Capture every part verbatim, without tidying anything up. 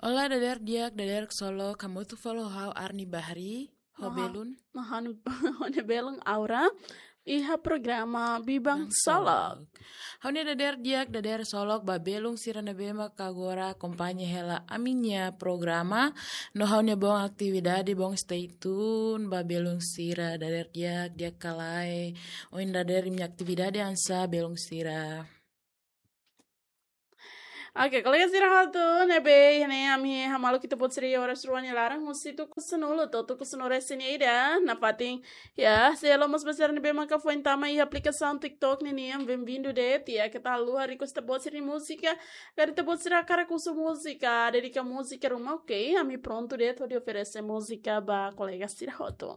Olá, dader di'ak, dader solok, hamutuk fali ho ha'u Arni Bahri, ho Aha. belun. Mahan hone belun Aura. Iha programa Biban Solok. Ha'u-nia dader di'ak, dader solok, ba belun sira ne'ebé maka agora akompaña hela ami-nia programa. No ha'u-nia boon atividade, boon stay tune, ba belun sira, dader di'ak, di'ak ka lae. Ohin dader imi-nia atividade oinsá belun sira. Oke, kolega sira hotu, ne'ebé iha ne'e ami hamaluk ita-boot sira iha oras rua nia laran, husi tuku sanulu to'o tuku sanulu-resin-ida, nafatin, ya, se elo mós ba sira ne'ebé maka foin tama iha aplikasaun TikTok ninian, bem-vindu de'it, ya, keta haluha request ita-boot sira-nia múzika, karik ita-boot sira hakarak husu múzika, dedika múzika ruma, oke, ami prontu de'it hodi oferese múzika ba kolega sira hotu.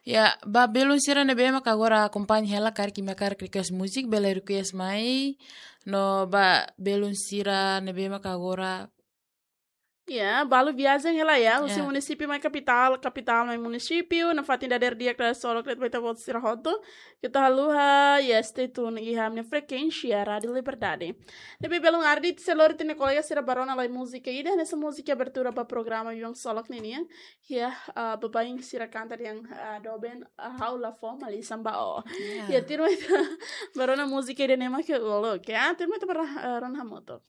Ya, ba belun sira ne'ebé maka agora akompaña hela, karik imi hakarak request múzika, bele request mai. No ba belun sira ne'ebé maka agora. Ya, balu viajen hela ya, husi Ya. munisípiu mai kapitál, kapitál mai munisípiu, nafatin dader di'ak, dader solok de'it ba ita-boot sira hotu. Keta haluha, ya, stay tune iha ami-nia frekuénsia Rádiu Liberdade. Ne'ebé belun Ardi, se lori ita-nia kolega sira bá rona lai múzika ida, hanesan múzika abertura ba programa Biban Solok ninian. Ya, ah, baibain sira kanta dehan, ah, doben, ah, ha'u la fó, malisan ba ó. Ya, tuirmai ita bá rona múzika ida-ne'e mak uluk, ya, tuirmai ita bá, ah, rona hamutuk.